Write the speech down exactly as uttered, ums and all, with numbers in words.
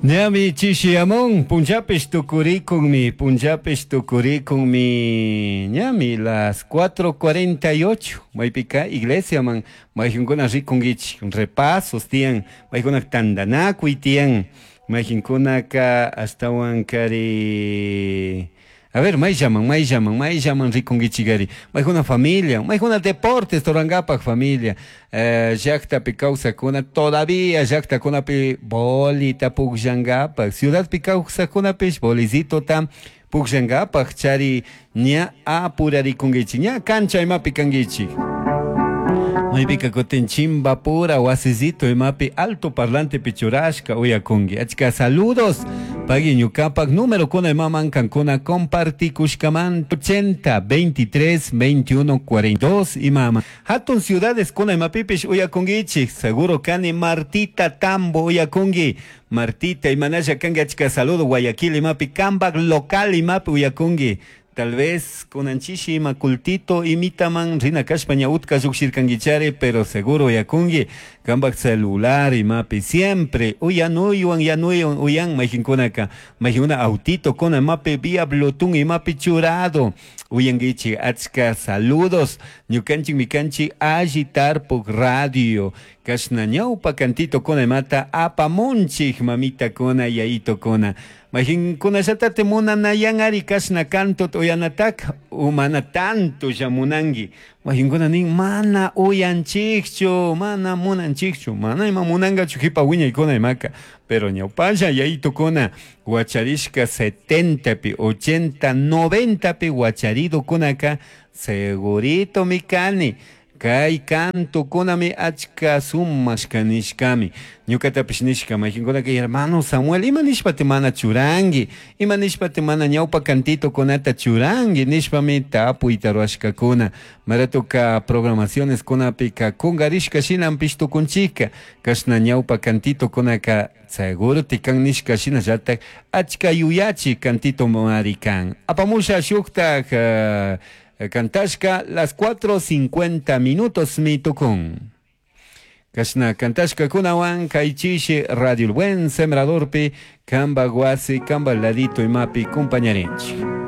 Ñami chishiyamun, punllapish tukurikunmi, punllapish tukurikunmi, ñami las cuatro cuarenta y ocho, maypika iglesiaman mayqinkuna rikunkichik, repasos tiyan, maykuna tantanakuy tiyan, mayqinkunaka ashtawan kari. A ver, mayllaman, mayllaman, mayllaman rikunkichikari. Maykuna familia, maykuna deportes rurankapak familia, eh, llaktapi kawsakuna, todavía llaktakunapi bolita pukllankapak, ciudadpi kawsakunapish bolicitota pukllankapak chari ña apurarikunkichik, ña cancha imapi kankichik. Maypika kutin Chimbapura wasisito imapi alto parlante pichurashka uyakunki. Achka saludos. Pagui ñukapak número kuna imaman kankuna compartikushkaman ochenta veintitrés veintiuno cuarenta y dos imama. Hatun ciudades kuna imapipish uyakunkichik. Seguro kani Martita Tambo uyakunki. Martita imanalla kanki achka saludo Guayaquil imapi Cambac local imapi uyakunki. Tal vez kunanchishi ima cultito imitaman rina kashpa ña utka llukshirkankichari, pero seguro uyakunki kampak celular imapi siempre uyanuywan yanuywan uyan mayqinkunaka mayqinkuna autito kuna imapi vía Bluetooth imapi churado uyankichik. Achka saludos ñukanchik mikanchik alli tarpuk radio kashna ñawpa cantito kuna imata apamunchik mamita kuna yayito kuna. Mayqinkunallatate munanayan ari kashna canto uyanatak umana tanto llamunanki. Mayqinkuna nin mana uyanchikchu, mana munanchikchu, mana ima munankachu jipa wiñaykuna imaka. Pero ñawpalla yayitokuna wacharishka setentapi, ochenta, noventapi wacharidokunaka segurito mi kani. Kay cantokunami achka sumashka nishkami. Ñukatapish nishka mayqinkunaka hermano Samuel, ima nishpati mana churanki, ima nishpati mana ñawpa cantitokunata churanki nishpami tapuyta ruwashkakuna. Maratuka programaciones kunapika kungarishka shinanpish tukunchika. Kashna ñawpa cantitokunaka seguro tikan nishka shinallatak achka yuyachi cantito mari kan. Apamusha shuktak, uh, cantashka las cuatro cincuenta minutos mi tukun. Kashna kantashka kunawan kaychishi Radio El Buen Sembradorpi kamba guasi kamba ladito imapi compañarinchik.